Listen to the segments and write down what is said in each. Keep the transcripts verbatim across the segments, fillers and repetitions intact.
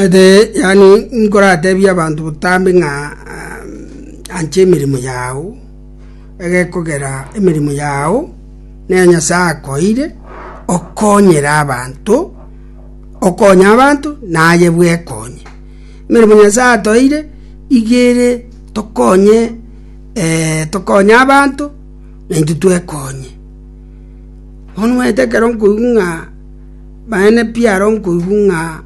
Omanyete yaani nkoratebie abanto botambe ng'a anche emeremo yago, egekogera emeremo yago neye Nyasaye akoeire, okonyere abanto, okonye abanto, naye bwekonye. Emeremo Nyasaye atoeire, iga ere tokonye tokonye abanto, naintwe twekonye. Bono omanyete ekero nkoigwa ng'a maene pi aro nkoigwa ng'a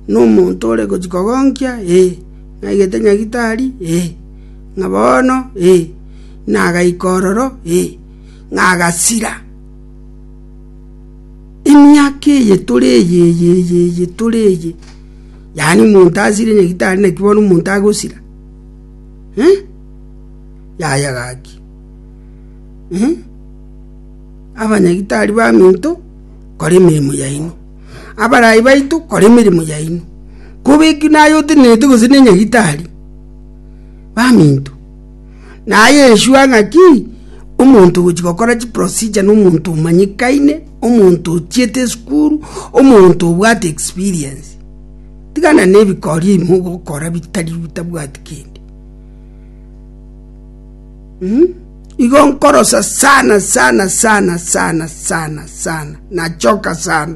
na omonto ore gochia kogonkia eh, naigete nyagitari eh, ng'a bono eh, nagaika ororo eh, ng'a agasira. Emiaka eye tore eye eye eye eye tore eye, yaani omonto asire nyagitari naki bono omonto agosira eh? Yaya gaki eh? Abanyagitari baminto, kora emeremo yaino, abarai baito, kora emeremo yaino, kobeki naye otenerete gose na enyagitari, baminto, naye ensure ng'aki, omonto ogochia gokora chiprocedure na omonto omanyekaine, omonto ochiete esukuru, omonto obwate experience. Tigana na ebikori ebi mogokora bitari bitabwati kende. Mm? Igo nkorosa sana sana sana sana sana sana, nachoka sana.